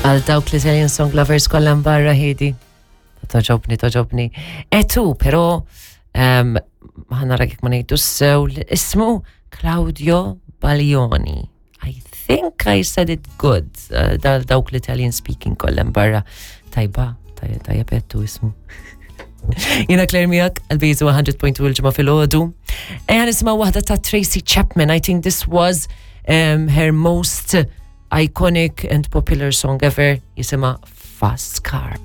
Għal dawk l-Italian Song Lovers kollha barra ħidi. Toġobni, toġobni. Etu, pero ħanara kif ma ngħidu sew ismu Claudio Baglioni. I think I said it good. Uh, dawk l-Italian speaking kollha barra. Tajba, tajba ettu ismu. Jina Claire miegħek għal-bizu 100.2 il-ġimgħa fil-ħodu. Ejja nisimgħu waħda ta' Tracy Chapman. I think this was um, her most iconic and popular song ever jisimha Fast Car.